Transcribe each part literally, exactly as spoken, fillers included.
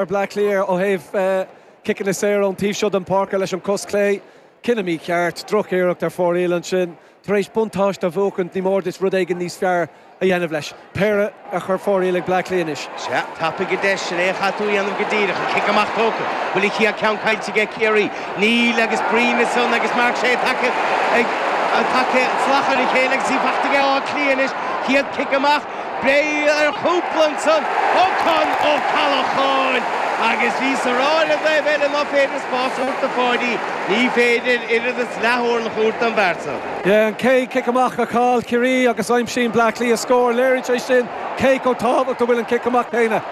Bleá Cliath ó thaobh ciceanna saora ón taobh seo den pháirc leis an cos clé. Cinneadh mícheart, drochiarracht ar fóraoil ansin. Tar éis buntáiste a bhuachan ní mór duit rud éigin níos fearr a dhéanamh leis. Péire a chur fóraoil ag Bleá Cliath anois. Sea, tapaigh an deis sin é a chaithfidh tú a dhéanamh go díreach, an cic amach tógtha. Bhfuil an chéad ceann caillte aige Ciarraí? Níl agus Breen ansan agus Mark Shea tagtha ag tagtha salach ar a chéile agus í faighte aige Áth Cliath anois. Chéad cic amach, breith ar chúpla ansan ó Con Ó Callacháin agus bhíos a rá ar an dtaobh eile ná féidir spás a thabhairt do Pháidí, ní féidir oiread is leath-orlach a thabhairt don bhfear san. Yeah, an chéad cic amach a chaill Ciarraí agus aimsíonn Bleá Cliath scór. Léiríonn sé sin cé chomh tábhachtach a bhfuil an cic amach céanna.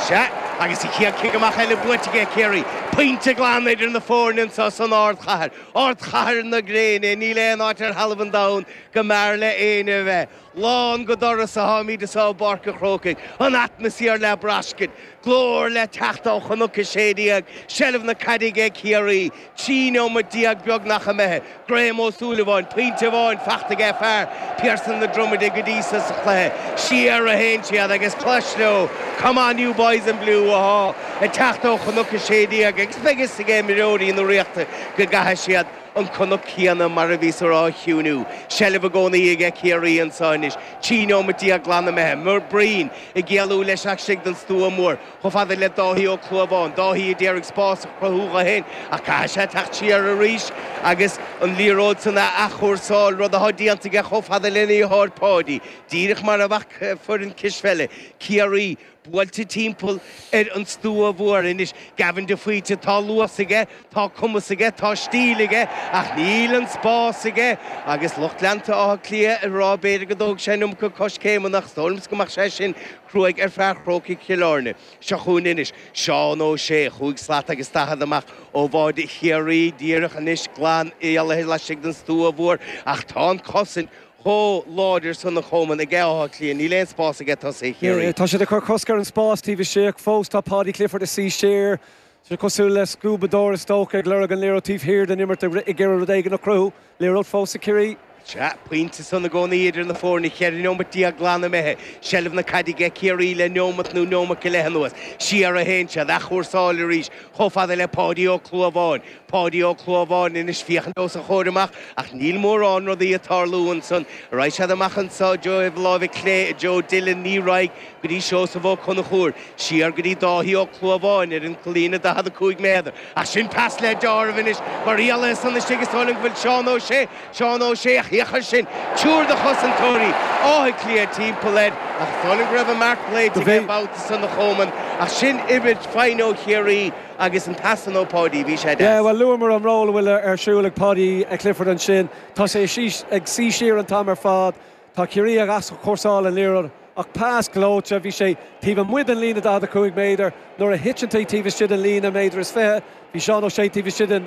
Sea, agus an chéad cic amach eile buaite aige Ciarraí. Pointe glan idir na foirne anseo san ardchathair. Ardchathair na gréine, níl aon áit ar thalamh an domhain go mb'fhearr le éinne a bheith. Lán go doras atáimid anseo i bPáirc an Chrócaigh, an atmaisféar le braiscint, glór le teacht ó Chnoc a Sé Déag, seilbh na caide aige Ciarraí, trí neomat déag beagnach imithe, Graham Ó Súilleabháin, pointe amháin faighte aige fear Pearson na Dromide go dtí seo sa chluiche, siar a théann siad agus clois leo, Come on you boys in blue atá ag teacht ó Chnoc a Sé Déag agus beidh fhios ag imreoirí na Ríochta go gcaithfidh siad an cnoc céanna mar a bhíos a rá a chiúnú. Seilbh i gcónaí aige Ciarraí anseo anois. Trí neomat déag glan imithe. Breen ag éalú leis istigh den stua mór. Chomh fada le Dáithí Ó Clúmháin. Dáithí a d'iarraidh spás a chruthú dó féin ach caithfidh sé teacht siar arís agus an liathróid san a athchúrsáil, rud atá déanta aige chomh fada lena dheartháir Páidí. Díreach mar a bheadh foireann cispheile Ciarraí buailte timpeall ar an stua mhór anois. Gavin de Faoite, tá luas aige, tá cumas aige, tá stíl aige, ach níl an spás aige. Agus lucht leanta Átha Cliath ag rá b'fhéidir go dtóg sé an iomarca coiscéimeanna ach is dóigh liomsa go mbeadh sé sin cruaidh ar fear Chrócaigh Chill Airne. Seo chugainn anois Seán Ó Sé, chúig slat agus daichead amach ó bháide Chiarraí, díreach anois glan éalaithe laistigh den stua mhór, ach tá an chosaint chomh láidir san a Chomáin aige Áth Cliath, níl aon spás aige tosaithe Chiarraí. Tá siad ag cur cosc ar an spás taobh istigh, fós tá Paudie Clifford ag suí siar. Sé cosúil le scuabadóir is dócha ag lorg an liathróid taobh thiar den imirt ag iarraidh rud éigin a chruthú. Liathróid fós ag Ciarraí. Sea, pointe san i gcónaí idir na foirne, cheithre neomat déag glan imithe, seilbh na caide aige Ciarraí le neomat nó neomat go leith anuas. Siar a théann siad, athchúrsáil arís, chomh fada le Páidí Ó Clúmháin. Páidí Ó Clúmháin anois féachaint os a chomhair amach ach níl mórán rudaí ag tarlú ansan. Raghaidh siad amach anseo i dtreo thaobh láimhe clé Joe Dillon ní raghaidh go dtí Seosamh Ó Conchúir, siar go dtí Dáithí Ó Clúmháin ar an líne daichead a cúig méadar. Ach sin pas le deáramh anois mar éalaithe san istigh is dóigh liom go bhfuil Seán Ó Sé, Seán Ó Sé ach féach air sin, triúr de chosantóirí Átha Cliath timpeall air ach is dóigh liom go raibh an marc glaoite aige an babhta san a Chomáin ach sin imirt fine ó Chiarraí agus an pas san ó Pháidí, bhí sé Yeah, deas. well luamar an ról a bhfuil ar siúl ag Paudie Clifford ansin. Tá sé ag suí siar an t-am ar fad. Tá Ciarraí ag athchúrsáil an liathróid ach pas gleoite, bhí sé taobh amuigh den líne daichead a cúig méadar nuair a thiteann tú taobh istigh den líne méadar is fiche, bhí Seán Ó Sé taobh istigh den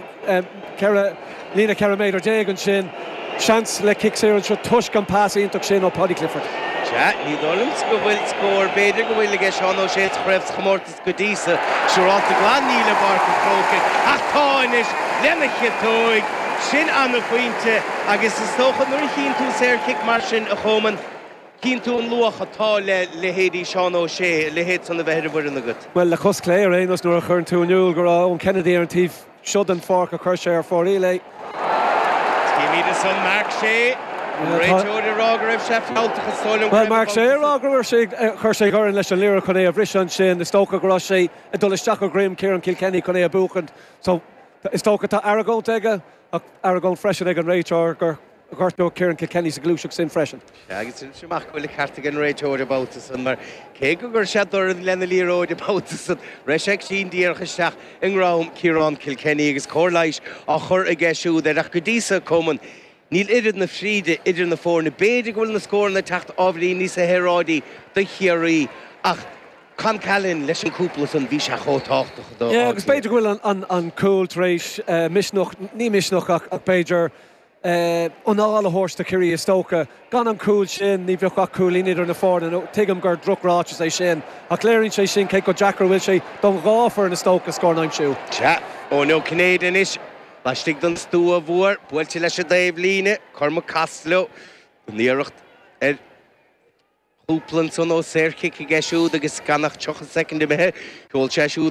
ceithre líne ceithre méadar déag ansin. Seans le cic saor anseo toisc an pas iontach sin ó Paudie Clifford. Sea, ní dóigh liomsa go bhfuil scór, b'fhéidir go bhfuil aige Seán Ó Sé sa chraobh sa chomórtas go dtí seo, siúrálta glan níl i bPáirc an Chrócaigh ach tá anois lena chiotóig. Sin an-phointe agus is dócha nuair a chíonn tú saorchic mar sin a Chomáin, chíonn tú an luach atá le leithéidí Seán Ó Sé, a leithéid san a bheith ar an bhfoireann agat. Bhuel, le cos clé ar aon nós nuair a chuireann tú in iúl go raibh Eoin Kennedy ar an taobh seo den pháirc a chuir sé ar fóraoil é. Címid ansan Mark Shea, an réiteoir ag rá go raibh sé fealltach is dóigh liom go Bhuel, raibh Mark an Shea ag babhta rá go raibh sé chuir sé dhorn leis an liathróid chun é a bhriseadh ansin, is dócha go raibh sé ag dul isteach i ngreim Ciarán Kilkenny chun é a bhuachaint. So is dócha tá argóint aige ach argóint freisin ag an réiteoir gur ghortaíodh Ciarán Kilkenny sa ghluaiseacht sin freisin. Sea, agus inis amach go bhfuil an ceart ag an réiteoir an babhta san mar cé go gcuir sé dorn lena liathróid an babhta san, raibh sé ag sín díreach isteach i ndroim Ciarán Kilkenny agus cóir leighis á chur aige siúd air ach go dtí seo Coman, níl oiread na fríde idir na foirne. B'fhéidir go bhfuil na scóranna ag teacht ábhairín níos saoráidí do Chiarraí ach Con Callahan leis an cúpla san bhí sé chomh tábhachtach do Yeah, agus b'fhéidir go bhfuil an, an, an cúl tar éis uh, misneach, ní misneach ach, ach b'fhéidir uh, anáil a thabhairt do Chiarraí is dócha. Gan an cúl sin ní bheadh ach cúilín idir na foirne, nó tuigim gur drochráiteas é sin, ach léiríonn sé sin cé chomh deacair a bhfuil sé don dhá fhoireann is dócha scór a aimsiú. Sea, Eoin Ó Cinnéide anois, laistigh den stua mhór, buailte leis an dtaobh líne, Cormac Costello, an iarracht ar Cúpla ansan ó saorchic aige siúd agus gan ach tríocha soicind imithe, Sheol sé siúd